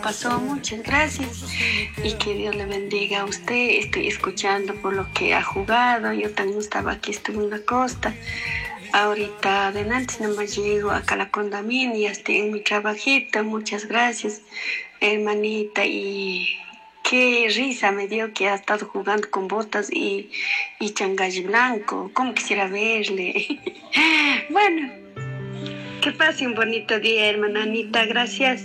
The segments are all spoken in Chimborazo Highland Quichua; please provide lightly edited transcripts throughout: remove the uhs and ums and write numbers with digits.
pasó? Muchas gracias y que Dios le bendiga a usted. Estoy escuchando por lo que ha jugado. Yo también estaba aquí, estuve en la costa. Ahorita adelante nomás llego acá a la condominio y ya estoy en mi trabajito. Muchas gracias, hermanita. Y qué risa me dio que ha estado jugando con botas y changalli blanco. Cómo quisiera verle. Bueno, que pase un bonito día, hermana Anita. Gracias.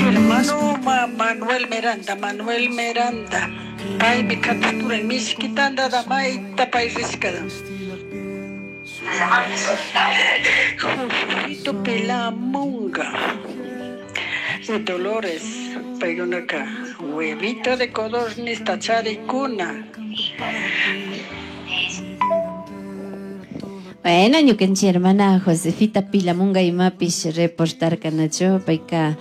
Hermano Manuel Miranda, Manuel Miranda. Paymi katuturan mishki tantata mayta pay rishkata. Josito Pilamunga y Dolores paykunaka huevito de codorniz charikuna. Bueno, ñukanchik hermana Josefita Pilamunga imapish reportarka nachu payka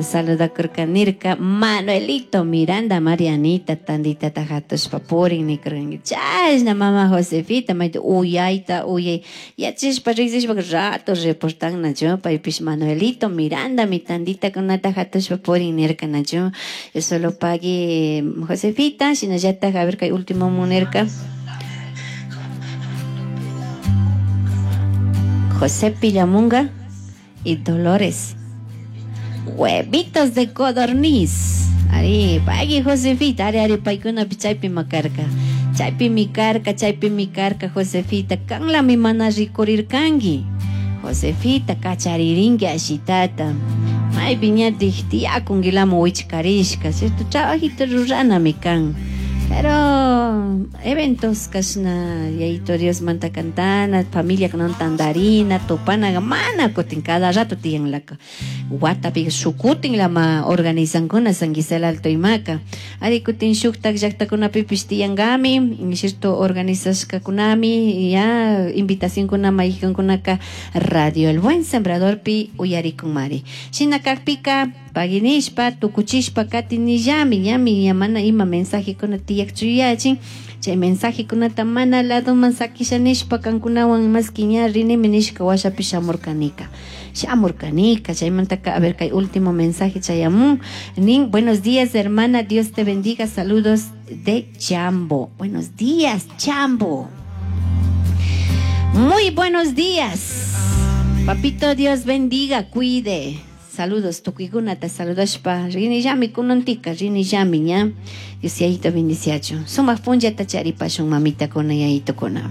saludakurka nirka Manuelito Miranda Marianita tanditata hatushpa purin nikurkanki chashna mama Josefita mayta uyayta uyay yachishpa riksishpa rato reportan nachu paypish Manuelito Miranda mi tanditakunata hatushpa purin nirka nachu solo pagui Josefita shinallatak a ver kay último nirka José Pillamunga y Dolores. Huevitos de codorniz. Ari, pagui Josefita, ari, ari, paykunapi chaypi makarka. Chaypi mi karka, chaypi mi karka, Josefita. Kanlami mana rikurirkanki. Josefita, kacharirinki ashitata. Maypi ñatik tiyakunkilamun wichkarishka, cierto? Trabajito ruranami kan. Pero eventos kashna yayito Diosmanta cantana, familia kunan tandarina, tupanaga mana kutin cada rato tiyanlaka. Watapi shukutin lama organizankuna San Gisela Alto imaka. Ari kutin shuktak llaktakunapipish tiyankami, cierto organizashkakunami, ya invitacionkuna maykankunaka Radio El Buen Sembradorpi uyarikunmari. Shina kakpika paginishpa, tukuchishpa katinillami, ñami ña mana ima mensajekuna tiyakchu yachin, chay mensajekunata mana ladoman sakisha nishpa kankunawan maski ña rinimi nishka washapi shamurkanika. Shamurkanika, chaymantaka, a ver, kay último mensaje chayamun. Nin, buenos días, hermana, Dios te bendiga, saludos de Chambo. Buenos días, Chambo. Muy buenos días. Papito, Dios bendiga, cuide. Saludos, tukuykunata saludashpa rinillami kunantika, rinillami ña. Dios yayito bendiciachu. Sumaq punllata charipashun mamitakuna, yayitukuna.